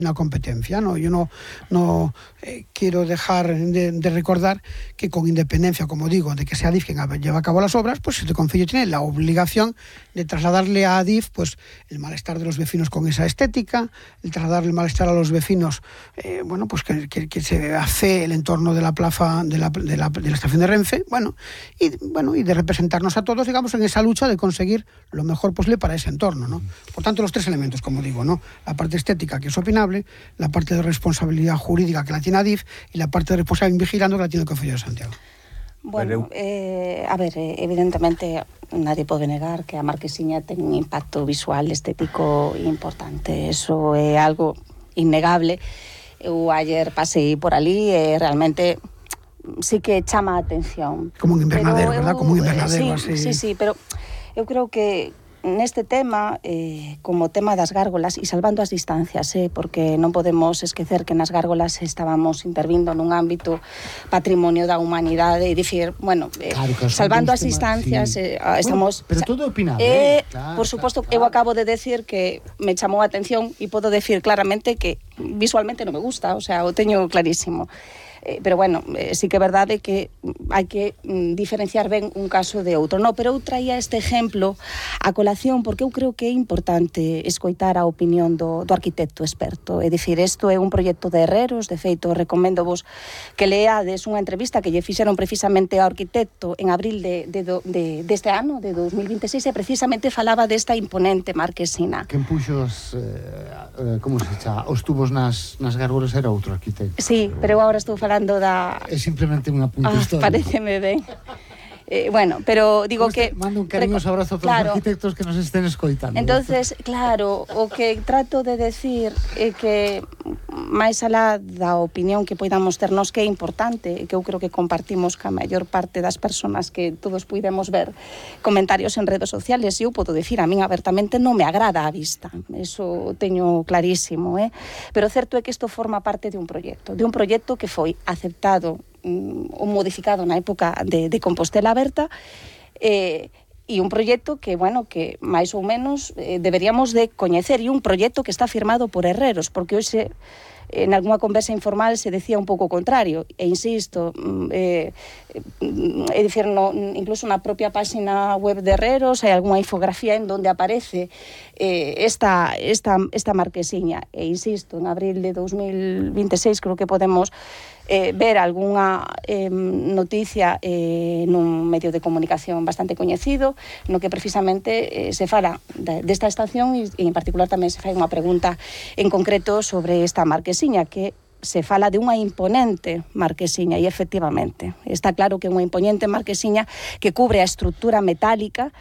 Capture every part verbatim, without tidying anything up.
una competencia, ¿no? Yo no, no eh, quiero dejar de, de recordar que con independencia, como digo, de que sea Adif quien lleva a cabo las obras, pues el Concello tiene la obligación de trasladarle a Adif pues el malestar de los vecinos con esa estética, el trasladarle el malestar a los vecinos, eh, bueno, pues que, que, que se hace el entorno de la plaza, de la, de la, de la estación de Renfe, bueno y, bueno, y de representarnos a todos, digamos, en esa lucha de conseguir lo mejor posible para ese entorno, ¿no? Por tanto, los tres elementos, como digo, ¿no? La parte estética, que es opinable, la parte de responsabilidad jurídica que la tiene Adif y la parte de responsabilidad vigilando que la tiene el Concello de Santiago. Bueno, eh, a ver, evidentemente nadie pode negar que a Marquesiña ten un impacto visual, estético importante. Eso é algo innegable. Eu ayer pasei por ali e realmente sí que chama a atención. Como un invernadero, ¿verdad? Como un invernadero, sí, así. Sí, sí, pero eu creo que neste tema, eh, como tema das gárgolas, e salvando as distancias, eh, porque non podemos esquecer que nas gárgolas estábamos intervindo nun ámbito patrimonio da humanidade, e dicir, bueno, eh, claro, salvando as distancias, sí. eh, estamos... Bueno, pero todo opinable, eh, eh, claro, por suposto, claro, eu acabo de decir que me chamou a atención e podo decir claramente que visualmente non me gusta, o sea, o teño clarísimo. Eh, pero bueno, eh, sí que é verdade que hai que mm, diferenciar ben un caso de outro, no, pero eu traía este exemplo a colación porque eu creo que é importante escoitar a opinión do, do arquitecto experto, é dicir, isto é un proxecto de herreros, de feito, recomendo vos que leades unha entrevista que lle fixeron precisamente ao arquitecto en abril de, de, de, deste ano, de dos mil vinte e seis, e precisamente falaba desta imponente marquesina. Quen puxo os, eh, como se chama, os tubos nas, nas gárgolas era outro arquitecto. Sí, pero eu agora estou falando falando da... É simplemente unha punta ah, histórica. Pareceme ben. Eh, bueno, pero digo pues que... Mando un cariñoso abrazo a todos claro, os arquitectos que nos estén escoitando. Entonces, claro, o que trato de decir é que máis alá da opinión que poidamos ternos que é importante, que eu creo que compartimos ca maior parte das persoas que todos puidemos ver comentarios en redes sociales, e eu podo decir, a min abertamente non me agrada a vista, eso teño clarísimo, eh? Pero certo é que isto forma parte de un proxecto, de un proxecto que foi aceptado ou modificado na época de, de Compostela Aberta, eh, e un proxecto que, bueno, que máis ou menos eh, deberíamos de coñecer, e un proxecto que está firmado por herreros, porque hoxe en algunha conversa informal se decía un pouco o contrario, e insisto, eh, é dicir, no, incluso na propia página web de herreros hai algunha infografía en donde aparece eh, esta, esta, esta marquesiña, e insisto, en abril de dos mil vinte e seis creo que podemos Eh, ver algunha eh, noticia eh, nun medio de comunicación bastante coñecido, no que precisamente eh, se fala de, desta estación e, e en particular tamén se fai unha pregunta en concreto sobre esta marquesiña, que se fala de unha imponente marquesiña, e efectivamente está claro que é unha imponente marquesiña que cubre a estrutura metálica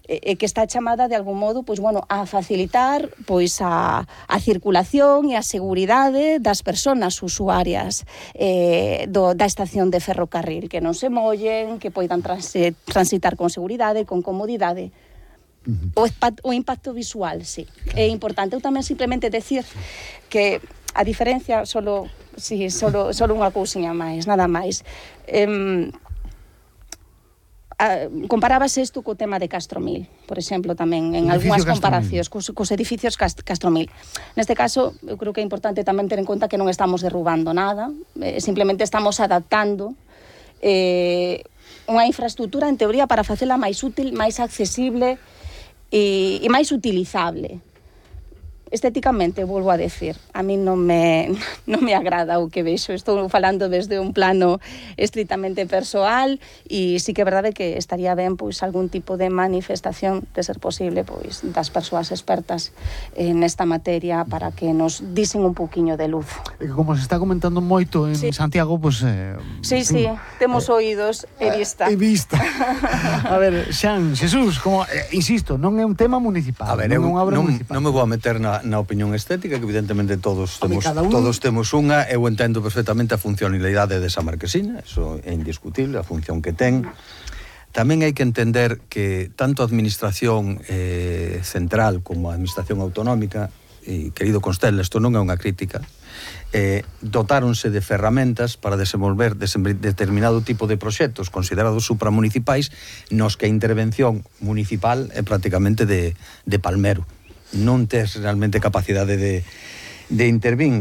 e que está chamada de algún modo, pois bueno, a facilitar pois a, a circulación e a seguridade das persoas usuarias eh, do, da estación de ferrocarril, que non se mollen, que poidan transi, transitar con seguridade, con comodidade. Uh-huh. O, o impacto visual, sí, claro. É importante. Eu tamén simplemente decir que a diferencia, solo, sí, solo, solo unha cousiña máis, nada máis. Eh, Uh, comparábase isto co tema de Castromil, por exemplo, tamén en algunhas comparacións cos, cos edificios Cast, Castromil. Neste caso, eu creo que é importante tamén ter en conta que non estamos derrubando nada, eh, simplemente estamos adaptando eh, unha infraestructura en teoría para facela máis útil, máis accesible e, e máis utilizable. Estéticamente, volvo a decir, a mí non me, non me agrada o que vexo. Estou falando desde un plano estritamente persoal, e sí que é verdade que estaría ben pois algún tipo de manifestación, de ser posible, pois das persoas expertas en esta materia para que nos disen un pouquiño de luz. Como se está comentando moito en sí. Santiago, pois... Eh, sí, sí, temos eh, oídos e vista. E vista. A ver, Xan, Xesús, como, eh, insisto, non é un tema municipal. A ver, non, eu, non, non me vou a meter na na opinión estética, que evidentemente todos temos, todos temos unha. Eu entendo perfectamente a funcionalidade desa marquesina, eso é indiscutible, a función que ten. Tamén hai que entender que tanto a administración eh, central como a administración autonómica, e querido Constela, isto non é unha crítica, eh, dotáronse de ferramentas para desenvolver determinado tipo de proxectos considerados supramunicipais, nos que a intervención municipal é prácticamente de, de palmero. Non tes realmente capacidade de, de intervir.